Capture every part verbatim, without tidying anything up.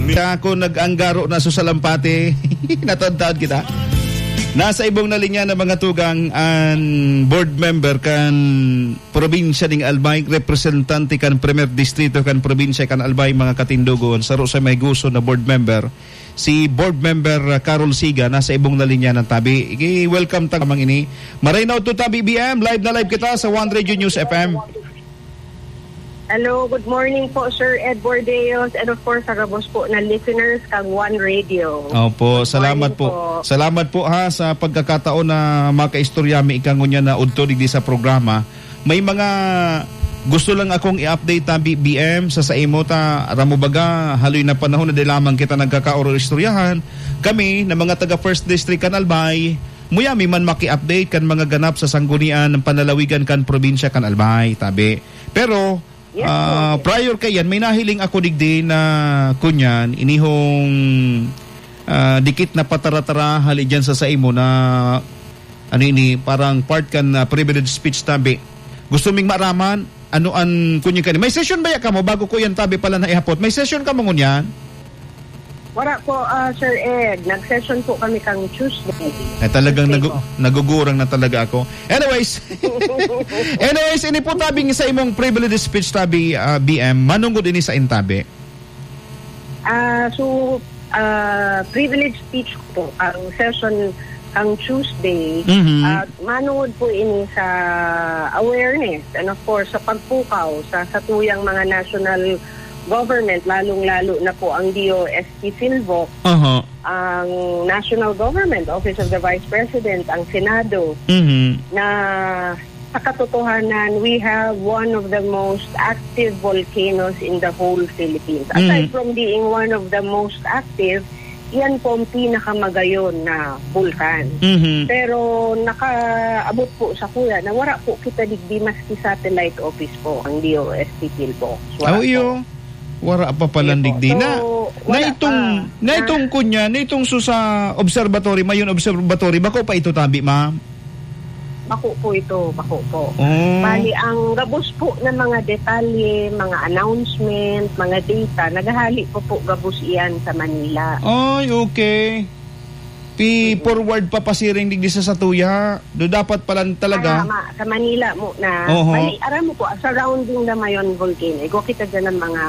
Kaya ako nag-anggaro na sa Salampati, natadtaad kita. Nasa ibong na linya na mga tugang an board member kan probinsya ning Albay, representante kan Primer Distrito kan probinsya kan Albay, mga katindogon, saro sa may gusto na board member, si board member, uh, Carol Siga, nasa ibong na linya ng tabi. I-welcome ta kamang ini. Maray na udto tabi, B M. Live na live kita sa One Radio News F M. Hello, good morning po, Sir Ed Bordeos, and of course, sa gabos po na listeners kang One Radio. Opo, salamat po. Salamat po, ha, sa pagkakataon na makaistorya mi ika ngunyan na udto digdi sa programa. May mga gusto lang akong i-update ta, B-, B M, sa saimo ta, aram mo baga, haloy na panahon na di lamang kita nagkakaoro-istoryahan. Kami, na mga taga First District kan Albay, muya mi man maki-update kan mga ganap sa sanggunian ng panlalawigan kan probinsya kan Albay, tabi. Pero, Yes, ah, po. Prior kaiyan, may nahiling ako digdi na kunyan, inihong, ah, dikit na patara-tara hali dyan sa saimo na, ano ini, parang part kan, ah, privilege speech tabi. Gusto ming maaraman, ano an kunyan kani? May session ba ya kamo bago ko yan tabi pala na ihapot? May session kamo ngunyan? Wala po, ah, Sir Ed. Nag-session po kami kang Tuesday. Ay, talagang Tuesday nagu-, po. Nagugurang na talaga ako. Anyways, anyways, ini po tabing sa imong privilege speech tabi, ah, B M, manungod ini sa intabi. Ah, so, ah, privilege speech ko po, ang session kang Tuesday, Mhm. ah, manungod po ini sa awareness and of course sa pagpukaw sa satuyang mga national government, lalong-lalo na po ang D O S T PhilVoc, Aha. ang national government, Office of the Vice President, ang Senado, Mhm. na sa katotohanan, we have one of the most active volcanoes in the whole Philippines. Aside Mhm. from being one of the most active, yan po ang pinakamagayon na bulkan. Mhm. Pero nakaabot po sa kuya na wala po kita digdi maski satellite office po ang D O S T PhilVoc. Wala Aw, po. iyo. Wala pa pala Sige po. Digdi na. So, Na wala itong, pa. na Na itong kunya, na itong so sa observatory, mayon observatory, bako pa ito tabi, ma'am? Bako po ito, bako po. Oh. Bali, ang gabos po na mga detalye, mga announcement, mga data, naghahali po po gabos iyan sa Manila. Ay, okay. Pi-forward pa pasiring digdi sa satuya. Do dapat pala talaga. Tama, sa Manila muna. Oho. Bali, aram mo po, surrounding na mayon volcano. Igwa kita dyan ng mga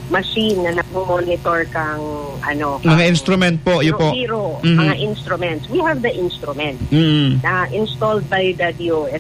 machine na nagmo-monitor kang, ano, Mga kang instrument po, yun po. Zero, zero, Mhm. mga instruments. We have the instrument Mm. na installed by the D O S